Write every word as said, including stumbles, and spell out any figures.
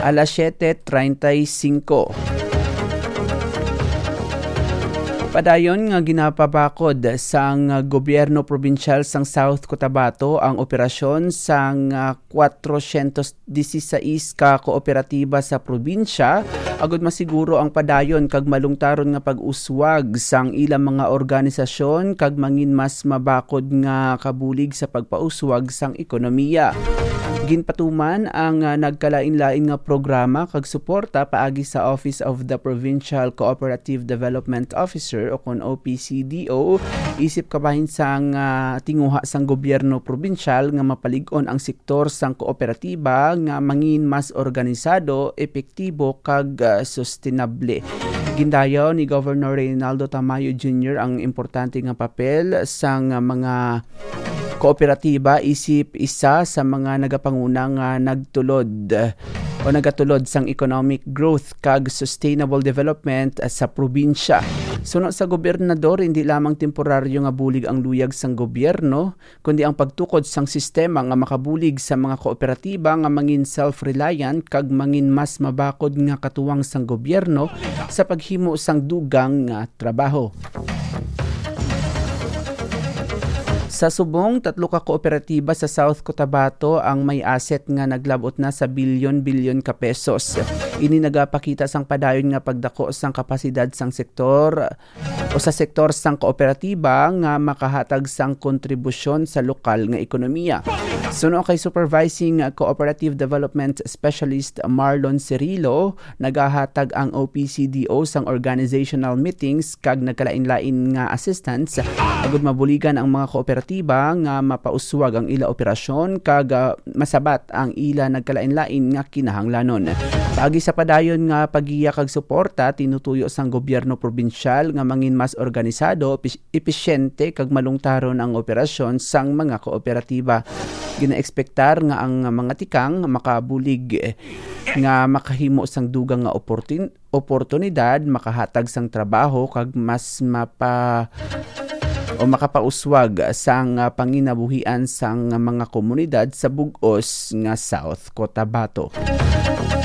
Alas siete treinta y cinco. Padayon nga ginapabakod sang gobyerno probinsyal sang South Cotabato ang operasyon sang, ah, kwatrosyentos disisais ka kooperatiba sa probinsya, agud masiguro ang padayon kag malungtaron nga pag-uswag sang ilang mga organisasyon kag mangin mas mabakod nga kabulig sa pagpauswag sang ekonomiya. Ginpatuman ang, ah, nagkalain-lain nga programa kag suporta paagi sa Office of the Provincial Cooperative Development Officer o kon O P C D O, isip kabahin sang, ah, tinguha sang gobyerno probinsyal nga mapalig-on ang sektor sang kooperatiba nga mangin mas organisado, epektibo kag, ah, sustenable. Gindayaw ni Governor Reynaldo Tamayo Junior ang importante nga papel sang mga kooperatiba isip isa sa mga nagapanguna nga nagtulod o nagatulod sang economic growth kag sustainable development sa probinsya. Suno sa gobernador, hindi lamang temporaryo nga bulig ang luyag sang gobyerno, kundi ang pagtukod sang sistema nga makabulig sa mga kooperatiba nga mangin self-reliant kag mangin mas mabakod nga katuwang sang gobyerno sa paghimo sang dugang nga trabaho. Sa subong, tatlo ka kooperatiba sa South Cotabato ang may asset nga naglabot na sa bilyon-bilyon ka pesos. Ini nagapakita sang padayon nga pagdako sang kapasidad sang sektor o sa sektor sang kooperatiba nga makahatag sang kontribusyon sa lokal nga ekonomiya. Suno kay Supervising Cooperative Development Specialist Marlon Cirilo, nagahatag ang O P C D O sang organizational meetings kag nagkalain-lain nga assistance agud mabuligan ang mga kooperatiba nga mapauswag ang ila operasyon kag, ah, masabat ang ila nagkalain-lain nga kinahanglanon. Paagi sa padayon nga pagiya kag suporta, tinutuyo sang gobyerno probinsyal nga mangin mas organisado, epis-, episyente kag malungtaron ang operasyon sang mga kooperatiba. Ginaekspektar nga ang mga tikang makabulig, eh, nga makahimo sang dugang nga oportun-, oportunidad, makahatag sang trabaho kag mas mapa-, o makapauswag sang, ah, panginabuhian sang mga komunidad sa bug-os nga South Cotabato.